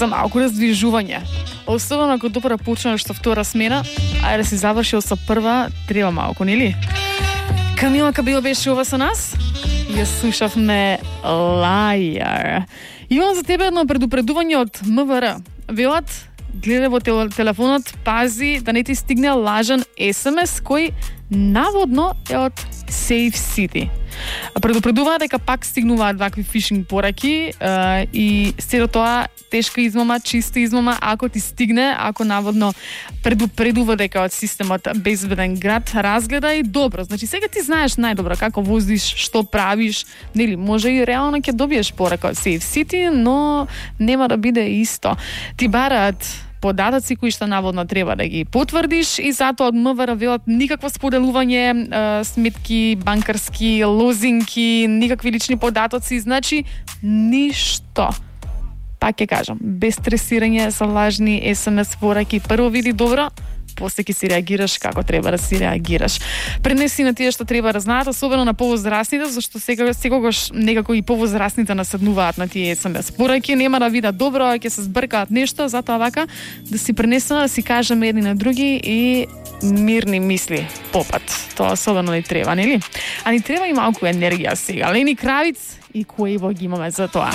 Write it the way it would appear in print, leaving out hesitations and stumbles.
за малку раздвижување. Особено ако допора почнеш со втора смена, ајде да си завршил со прва, треба малку, нели? Камила Кабил беше ова со нас. Ја слушавме Liar. Имам за тебе едно предупредување од МВР. Велат, гледај во телефонот, пази да не ти стигне лажен SMS кој наводно е од Safe City. Предупредуваат дека пак стигнуваат вакви фишинг пораки и сето тоа тешка измама, чиста измама, ако ти стигне, ако наводно предупредува дека од системот безбеден град, разгледај добро. Значи сега ти знаеш најдобро како возиш, што правиш, нели, може и реално ќе добиеш порака од Safe City, но нема да биде исто. Ти бараат податоци кои што наводно треба да ги потврдиш и затоа од МВР велат никакво споделување сметки, банкарски, лозинки, никакви лични податоци, значи ништо. Пак ќе кажам, без стресирање со лажни SMS пораки. Прво види добро, после ќе си реагираш како треба да си реагираш. Пренеси на тие што треба да знаат, особено на повозрасните, зашто секогаш некако и повозрасните наседнуваат на тие SMS пораки, нема да видат добро, ќе се збркаат нешто, затоа вака да си пренесено, да си кажеме едни на други и мирни мисли попат. Тоа особено ни треба, нели? А ни треба и малку енергија сега. Лени Кравиц и Куево ги имаме за тоа.